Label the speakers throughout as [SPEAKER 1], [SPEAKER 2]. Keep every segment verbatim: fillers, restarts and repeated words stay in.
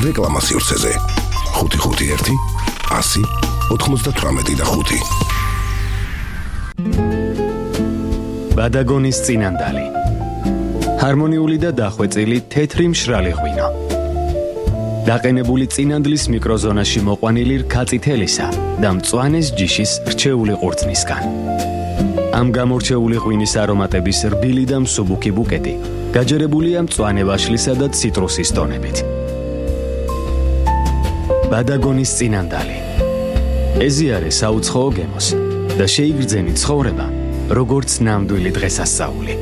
[SPEAKER 1] რეკლამა სივრცეზე. ხუთი ხუთი ერთი ასი ოთხმოცდათვრამეტი და ხუთი.
[SPEAKER 2] ბადაგონის წინანდალი. ჰარმონიული და დახვეწილი თეთრი მშრალი ღვინო. დაყენებული წინანდლის მიკროზონაში მოყვანილი რქაწითელისა და მწვანეს ჯიშის რჩეული ყურძნისგან. ამ გამორჩეული ღვინის არომატების რბილი და მსუბუქი ბუკეტი გაჯერებულია მწვანე ვაშლისა და ციტრუსის ტონებით. ბადაგონის წინანდალი. ეზიარე საუცხოო გემოს და შეიგრძენი ცხოვრება, როგორც ნამდვილი დღესასწაული.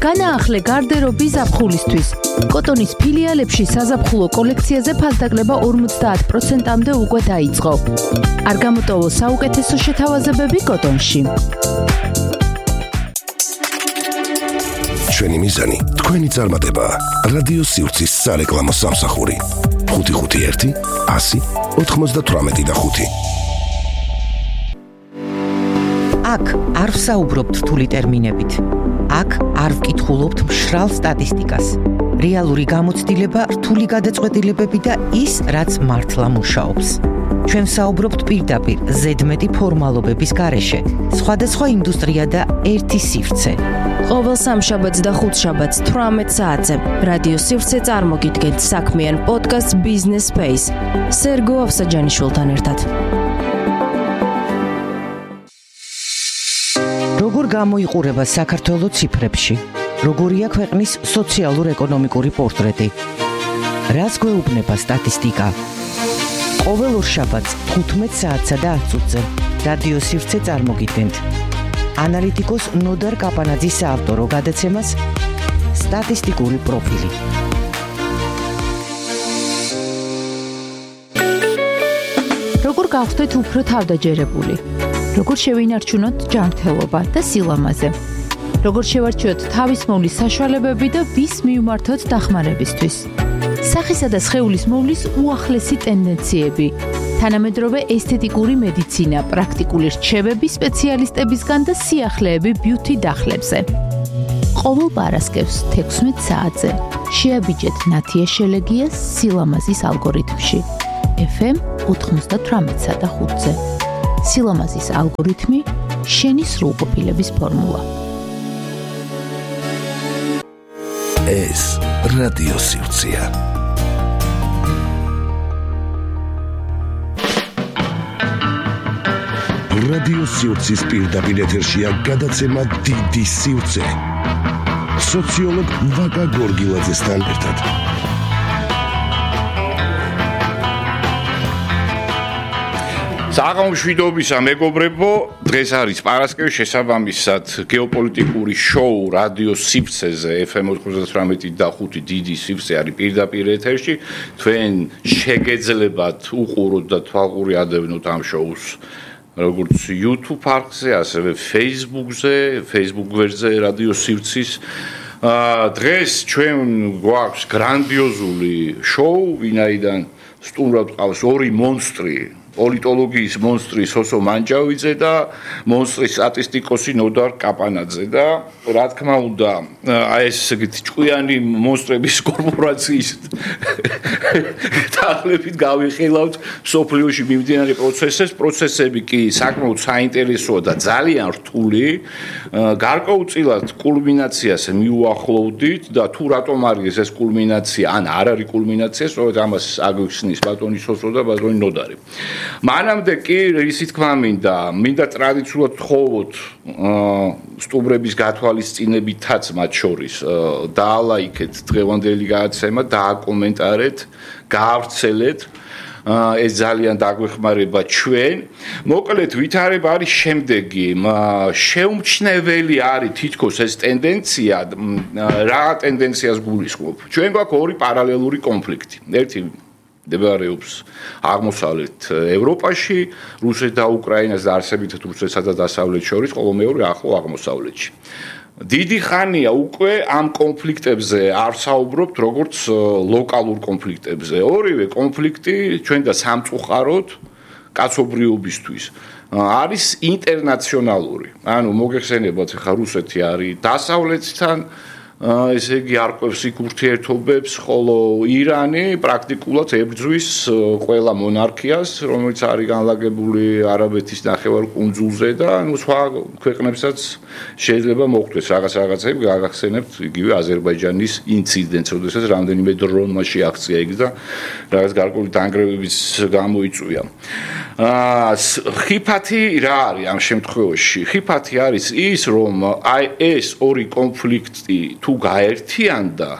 [SPEAKER 3] განაახლე გარდერობი ზაფხულისთვის. კოტონის ფილიალებში საზაფხულო კოლექციაზე ფასდაკლება ორმოცდაათ პროცენტამდე უკვე დაიწყო. არ გამოტოვო საუკეთესო შეთავაზებები კოტონში.
[SPEAKER 1] ჩვენი მიზანი თქვენი წარმატება. რადიო სივრცის სარეკლამო სამსახური. ხუთი ხუთი ერთი ასი ოთხმოცდათვრამეტი და ხუთი.
[SPEAKER 4] აქ არ ვსაუბრობთ რთული ტერმინებით. აქ არ ვკითხულობთ მშრალ სტატისტიკას. რეალური გამოცდილება, რთული გადაწყვეტილებები და ის, რაც მართლა მუშაობს. ჩვენ ვსაუბრობთ პირდაპირ, ზედმეტი ფორმალობების გარეშე. სხვადასხვა ინდუსტრია და ერთი სივრცე.
[SPEAKER 3] ყოველ სამშაბათს და ხუთშაბათს თვრამეტ საათზე რადიო სივრცე წარმოგიდგენთ საქმიან პოდკასტ Business Space. სერგო ავსაჯანიშვილთან ერთად.
[SPEAKER 4] როგორ გამოიყურება საქართველოს ციფრებში? როგორია ქვეყნის სოციალურ-ეკონომიკური პორტრეტი? რას გვეუბნება სტატისტიკა? ყოველ ორშაბათს თხუთმეტ საათსა და ათ წუთზე რადიო სივრცე წარმოგიდგენთ. ანალიტიკოს ნოდარ კაპანაძის საავტორო გადაცემას სტატისტიკური პროფილი.
[SPEAKER 3] როგორ გავხდეთ უფრო თავდაჯერებული? როგორ შევინარჩუნოთ ჯანმრთელობა და სილამაზე? როგორ შევარჩიოთ თავის მოვლის საშუალებები და ვის მივმართოთ დახმარებისთვის? სახისა და სხეულის მოვლის უახლესი ტენდენციები, თანამედროვე ესთეტიკური მედიცინა, პრაქტიკული რჩევები სპეციალისტებისგან და სიახლეები ბიუთი დახლებზე. ყოველ პარასკევს თექვსმეტ საათზე შეაბიჯეთ ნათია შელეგიას სილამაზის ალგორითმში. ეფ ემ ოთხმოცდათვრამეტსა და ხუთზე. სილამაზის ალგორითმი, შენი სრულყოფილების ფორმულა.
[SPEAKER 1] ეს რადიო სივრცეა. რადიო სივრცის პირდაპირ ეთერშია გადაცემა დიდი სივრცე. სოციოლოგ ვაკა გორგილაძესთან ერთად.
[SPEAKER 5] საღამოშვიდობისა მეგობრებო, დღეს არის პარასკევი, შესაბამისად გეოპოლიტიკური შოუ რადიო სივრცეზე ეფ ემ ოთხმოცდათვრამეტი და ხუთი დიდი სივრცე არის პირდაპირ ეთერში. თქვენ შეგეძლებათ უყუროთ და თვალყური ადევნოთ ამ შოუს როგორც YouTube არხზე, ასევე Facebook-ზე, Facebook გვერდზე რადიო სივრცის. დღეს ჩვენ გვაქვს გრანდიოზული შოუ, ვინაიდან სტუმრად ყავს ორი მონსტრი. პოლიტოლოგიის მონსტრი სოსო მანჯავიძე და მონსტრის სტატისტიკოსი ნოდარ კაპანაძე და რა თქმა უნდა აი ეს ესეთი ჭკვიანი მონსტრების კორპორაციის დახლებით გავიხილავთ სოფლიოში მიმდინარე პროცესებს. პროცესები კი საკმაოდ საინტერესოა და ძალიან რთული. გარკვეულწილად კულმინაციას მიუახლოვდით და თუ რატომ არის ეს კულმინაცია, ან არ არის კულმინაცია, სწორედ ამას აგვიხსნის ბატონი სოსო და ბატონი ნოდარი. მანამდე კი ისი თქმა მინდა, მინდა ტრადიციულად თხოვოთ სტუმრების გათვალისწინებითაც მათ შორის დაალაიქეთ დღევანდელი გადაცემა, დააკომენტარეთ, გაავრცელეთ. ეს ძალიან დაგვეხმარება ჩვენ. მოკლედ ვითარება არის შემდეგი. შეუმჩნეველი არის თითქოს ეს ტენდენცია, რა ტენდენციას გულისხმობ. ჩვენ გვაქვს ორი პარალელური კონფლიქტი. ერთი მდებარეობს აღმოსავლეთ ევროპაში, რუსეთს და უკრაინას და არსებითად რუსეთსა და დასავლეთ შორის, ხოლო მეორე ახლო აღმოსავლეთში. დიდი ხანია უკვე ამ კონფლიქტებზე არ საუბრობთ როგორც ლოკალურ კონფლიქტებზე. ორივე კონფლიქტი ჩვენ და სამწუხაროდ კაცობრიობისთვის არის ინტერნაციონალური. ანუ მოგეხსენებათ, ხა რუსეთი არის დასავლეთთან ესე იგი არკვევს იქ ურთიერთობებს, ხოლო ირანი პრაქტიკულად ებრძვის ყველა მონარქიას, რომელიც არის განლაგებული არაბეთის ნახევარკუნძულზე და ნუ სხვა ქვეყნებსაც შეიძლება მოხვდეს რაღაც რაღაცები, გაგახსენებთ იგივე აზერბაიჯანის ინციდენტს, როდესაც რამდენიმე დრონმა შეაღწია იქ და რაღაც გარკვეული დანგრევებიც გამოიწვია. აა ხიფათი რა არის ამ შემთხვევაში? ხიფათი არის ის, რომ აი ეს ორი კონფლიქტი თუ გაერთიანდა,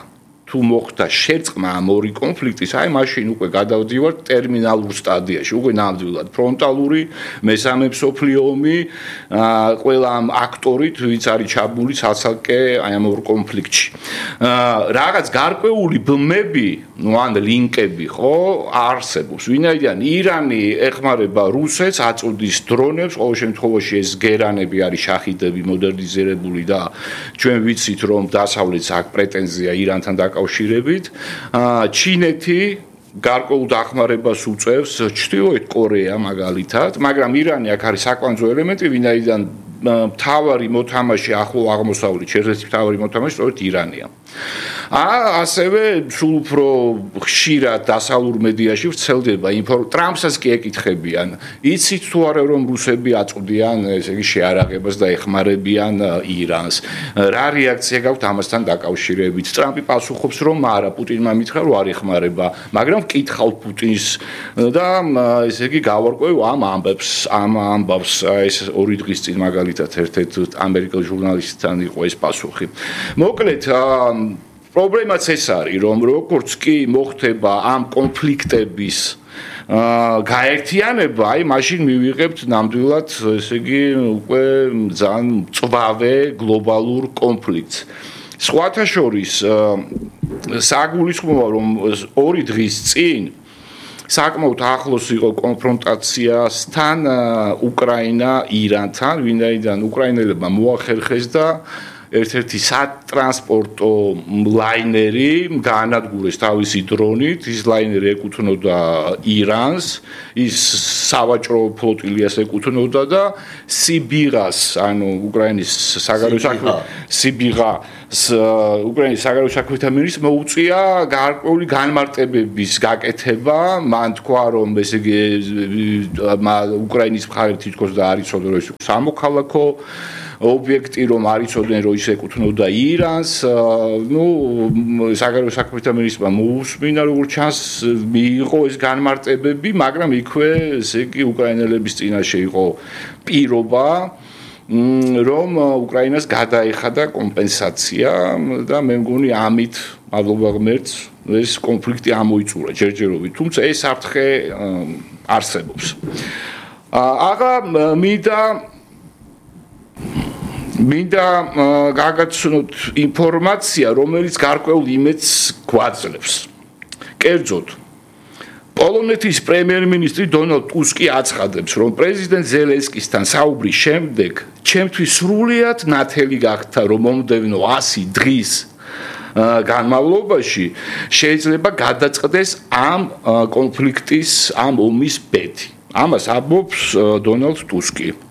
[SPEAKER 5] თუ მოხდა შერწყმა ამ ორი კონფლიქტის, აი მაშინ უკვე გადავდივართ ტერმინალურ სტადიაში, უკვე ნამდვილად ფრონტალური მესამე მსოფლიო ომი, აა ყველა ამ აქტორით, ვინც არის ჩაბმული ცალ-ცალკე აი ამ ორ კონფლიქტში. აა რაღაც გარკვეული ბმები, ну ან ლინკები ხო არსებობს. ვინაიდან ირანი ეხმარება რუსეთს, აწუდის დრონებს, ყოველ შემთხვევაში ეს გერანები არის შაჰიდები მოდერნიზირებული და ჩვენ ვიცით რომ დასავლეთს აქვს პრეტენზია ირანთან დაკავშირებით. აა ჩინეთი გარკვეულ დახმარებას უწევს ჩრდილოეთ კორეა მაგალითად, მაგრამ ირანი აქ არის საკვანძო ელემენტი, ვინაიდან მთავარი მოთამაშე ახლო აღმოსავლეთში, ერთ-ერთი მთავარი მოთამაშე სწორედ ირანია. აა ასევე სულ უფრო ხშირად დასავლურ მედიაში ვრცელდება ინფორმაცია. ტრამპსაც კი ეკითხებიან, იცით თუ არა რომ რუსები აწვდიან, ესე იგი შეარაღებას და ეხმარებიან ირანს. რა რეაქცია გაქვთ ამასთან დაკავშირებით? ტრამპი პასუხობს, რომ არა, პუტინმა მითხრა რომ არ ეხმარება, მაგრამ ვკითხავ პუტინს და ესე იგი გავარკვევ ამ ამბებს, ამ ამბავს ეს ორი დღის წინ მაგალითად ერთ-ერთ ამერიკელ ჟურნალისტთან იყო ეს პასუხი. მოკლედ პრობლემაც ეს არის, რომ როგორც კი მოხდება ამ კონფლიქტების გაერთიანება, აი მაშინ მივიღებთ ნამდვილად, ესე იგი, უკვე ძალიან მწვავე გლობალურ კონფლიქტს. სხვათა შორის საგულისხმოა, რომ ორი დღის წინ საკმაოდ ახლოს იყო კონფრონტაციასთან უკრაინა ირანთან, ვინაიდან უკრაინელებმა მოახერხეს და ერთ-ერთი სატრანსპორტო ლაინერი გაანადგურეს თავისი დრონით, ის ლაინერი ეკუთვნოდა ირანს, ის სავაჭრო ფლოტილიას ეკუთვნოდა და სიბიღას, ანუ უკრაინის საგარეო საქმეთა სიბიღა უკრაინის საგარეო საქმეთა მინისტრს მოუწია გარკვეული განმარტებების გაკეთება, მან თქვა რომ ესე იგი უკრაინის მხარე თითქოს და არ იცოდა რომ ეს სამოქალაქო ობიექტი რომ არ იცოდნენ რომ ის ეკუთვნოდა ირანს, ნუ საგარეო საქმეთა მინისტრმა მოусმინა როგორც ჩანს მიიღო ეს განმარტებები, მაგრამ იქვე ესე იგი უკრაინელების წინაშე იყო პირობა რომ უკრაინას გადაეხადა კომპენსაცია და მე მგონი ამით მადლობა ღმერთს ეს კონფლიქტი ამოიწურა ჯერჯერობით, თუმცა ეს საფრთხე არსებობს. აღა მინდა მინდა გაგაცნოთ ინფორმაცია, რომელიც გარკვეულ იმედს გვაძლევს. კერძოდ პოლონეთის პრემიერ-მინისტრი დონალდ ტუსკი აცხადებს, რომ პრეზიდენტ ზელენსკისთან საუბრის შემდეგ ჩემთვის სრულიად ნათელი გახდა, რომ მომდევნო ასი დღის განმავლობაში შეიძლება გადაწყდეს ამ კონფლიქტის, ამ ომის ბედი. ამას ამბობს დონალდ ტუსკი.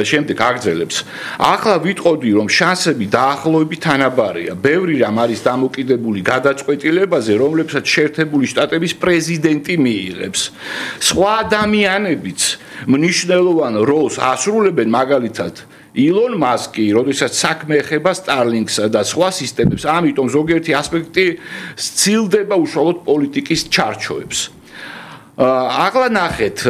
[SPEAKER 5] შემდეგ აგრძელებს. ახლა ვიტყოდი, რომ შანსები დაახლოებით თანაბარია. ბევრი რამ არის დამოკიდებული გადაწყვეტილებაზე, რომლებსაც შეერთებული შტატების პრეზიდენტი მიიღებს. სხვა ადამიანებიც მნიშვნელოვან როლს ასრულებენ, მაგალითად ილონ მასკი, როდესაც საქმე ეხება სტარლინგსა და სხვა სისტემებს, ამიტომ ზოგიერთი ასპექტი სცილდება უშუალოდ პოლიტიკის ჩარჩოებს. ახლა ნახეთ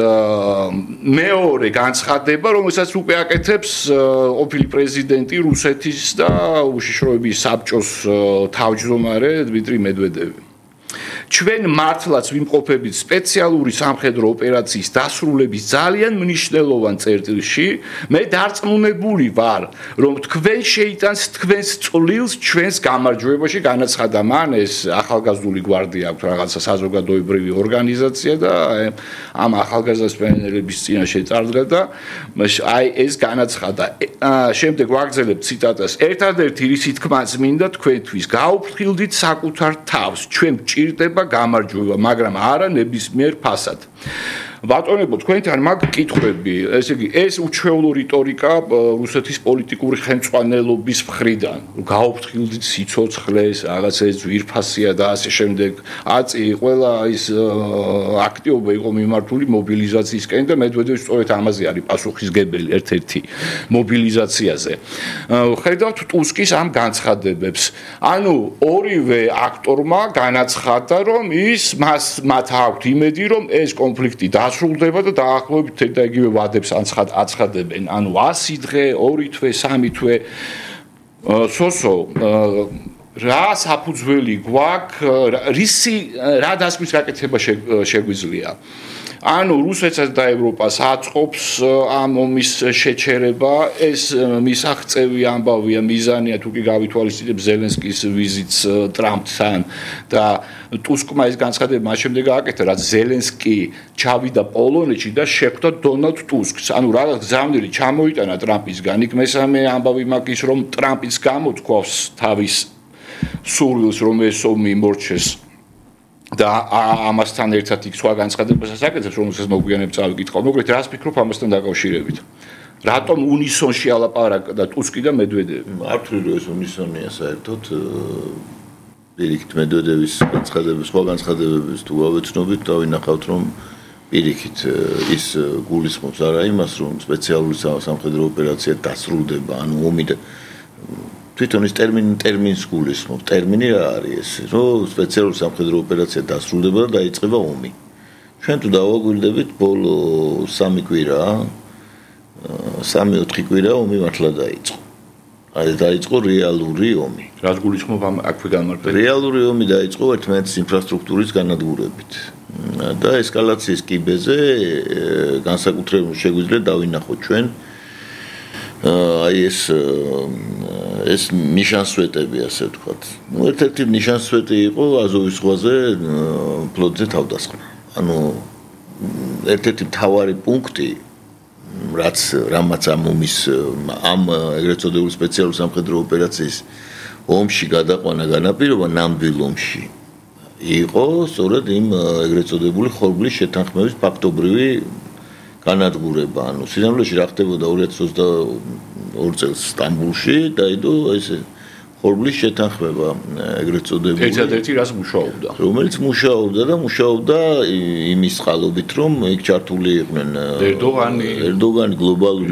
[SPEAKER 5] მეორე განცხადება, რომელსაც უკვე აკეთებს ყოფილი პრეზიდენტი რუსეთის და უშიშროების საბჭოს თავმჯდომარე დმიტრი მედვედევი. ჩვენ მართლაც ვიმყოფებით სპეციალური სამხედრო ოპერაციის დასრულების ძალიან მნიშვნელოვან წერტილში. მე დარწმუნებული ვარ, რომ თქვენ შეიტანს თქვენს წვლილს ჩვენს გამარჯვებაში, განაცხადა მან, ეს ახალგაზრდული გვარდია აქვს რაღაცა საზოგადოებრივი ორგანიზაცია და ამ ახალგაზრდების წინაშე წარდგა და აი ეს განაცხადა. შემდეგ ვაგრძელებ ციტატას. ერთადერთი რისი თქმაც მინდა თქვენთვის, გაუფრთხილდით საკუთარ თავს, ჩვენ გვჭირდება გამარჯვება, მაგრამ არა ნებისმიერ ფასად. ბატონებო, თქვენთან მაგ კითხვები, ესე იგი, ეს უჩვეულო რიტორიკა რუსეთის პოლიტიკური ხელმძღვანელობის მხრიდან, გაოფრთხილდით სიცოცხლეს, რაღაცა ძვირფასია და ასე შემდეგ. აწი ყველა ის აქტივობა იყო მიმართული მობილიზაციისკენ და მედვედევი სწორედ ამაზე არის პასუხისგებელი ერთ-ერთი მობილიზაციაზე. ხედავთ ტუსკის ამ განცხადებებს. ანუ ორივე აქტორმა განაცხადა, რომ ის მას მათ აქვთ იმედი, რომ ეს კონფლიქტი დასრულდება და დაახლოებით და იგივე ვადებს აცხადებენ. ანუ ასი დღე, ორი თვე, სამი თვე. სოსო რა საფუძველი გვაქვს, რისი რა დასკვნის გაკეთება შეგვიძლია. ანუ რუსეთსაც და ევროპას აწყობს ამ ომის შეჩერება, ეს მისაღწევი ამბავია, მიზანია თუ კი გავითვალისწინებს ზელენსკის ვიზიტს ტრამპთან და ტუსკმა ეს განცხადება მას შემდეგ გააკეთა, რაც ზელენსკი ჩავიდა პოლონეთში და შეხვდა დონალდ ტუსკს. ანუ რაღაც გზავნილი ჩამოიტანა ტრამპისგან. იქ მესამე ამბავი მაქვს ის, რომ ტრამპის გამოთქვავს თავის სურვილს, რომ ეს ომი იმორჩეს. და ამასთან ერთად იქ სხვა განცხადებასაც აკეთებს, რომელსაც მოგვიანებით წავიკითხავ. მოკლედ, რას ფიქრობ ამასთან დაკავშირებით? რატომ უნისონში ალაპარაკდა ტუსკი და მედვედევი?
[SPEAKER 6] მართლია, რომ ეს უნისონია საერთოდ პირიქით მედვედევის განცხადების, სხვა განცხადებების თუ გავეცნობით, დავინახავთ, რომ პირიქით ის გულისხმობს არა იმას, რომ სპეციალური სამხედრო ოპერაცია დასრულდება, ანუ ომი და თვითონ ის ტერმინი ტერმინს გულისხმობს. ტერმინი რა არის ეს? რომ სპეციალური სამხედრო ოპერაცია დასრულდება და დაიწყება ომი. ჩვენ თუ დავაგვირდებით ბოლო სამი კვირა, სამი-ოთხი კვირა ომი მართლა დაიწყო. აი დაიწყო რეალური ომი.
[SPEAKER 5] რას გულისხმობ ამ აქვე განმარტებით?
[SPEAKER 6] რეალური ომი დაიწყო ერთმანეთის ინფრასტრუქტურის განადგურებით. და ესკალაციის კიბეზე განსაკუთრებულად შეგვიძლია დავინახოთ ჩვენ აი ეს ეს ნიშანსვეტები ასე ვთქვათ. ნუ ერთ-ერთი ნიშანსვეტი იყო აზოვის ზღვაზე ფლოტზე თავდასხმა. ანუ ერთ-ერთი მთავარი პუნქტი რაც რამაც ამ ომის ამ ეგრეთ წოდებული სპეციალური სამხედრო ოპერაციის ომში გადაყვანა განაპირობა ნამდვილ ომში იყო სწორედ იმ ეგრეთ წოდებული ხორბლის შეთანხმების ფაქტობრივი განადგურება. ანუ სინამდვილეში რა ხდებოდა ორი ათას ოცდაორი წელს სტამბულში დაიდო ეს ხორბლის შეთანხმება ეგრეთ წოდებული.
[SPEAKER 5] ერთადერთი რას მუშაობდა?
[SPEAKER 6] რომელიც მუშაობდა და მუშაობდა იმის წყალობით, რომ იქ ჩართული იყვნენ
[SPEAKER 5] ერდოგანი,
[SPEAKER 6] ერდოგანი, გლობალური